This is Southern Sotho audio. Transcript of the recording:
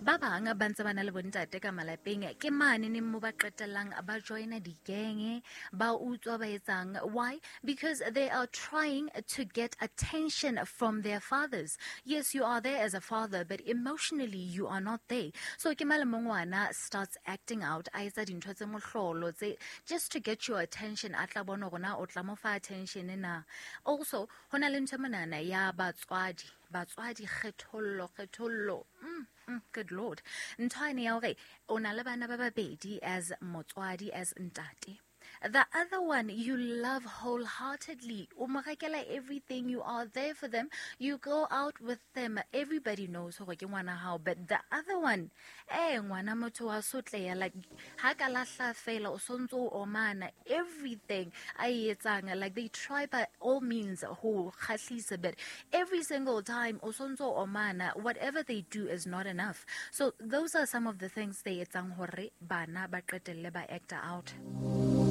Ba bang ba ntse ba na le bontate ka malapeng, ke mane neng mo ba qetellang ba joina di-gang, ba utswa, ba etsang. Why? Because they are trying to get attention from their fathers. Yes, you are there as a father, but emotionally you are not there. So ke male mo ngwana starts acting out, a etsa dintho tse mohlolo tse just to get your attention, a tla bona hore na o tla mo fa attention na. Also, ho na le ntho monana ya batswadi, batswadi kgethollo, kgethollo. Good Lord. Ntho ane ya hore o na le bana ba babedi as motswadi, as ntate. The other one you love wholeheartedly. O mo rekela everything. You are there for them. You go out with them. Everybody knows hore ke ngwana hao. But the other one, ngwana motho wa sotleya. Like, ha ka lahla fela, o sontso o omana. Everything a e etsang. Like, they try by all means ho kgahlisa, but every single time o sontso o omana, whatever they do is not enough. So those are some of the things they etsang hore bana ba qetelle ba act out.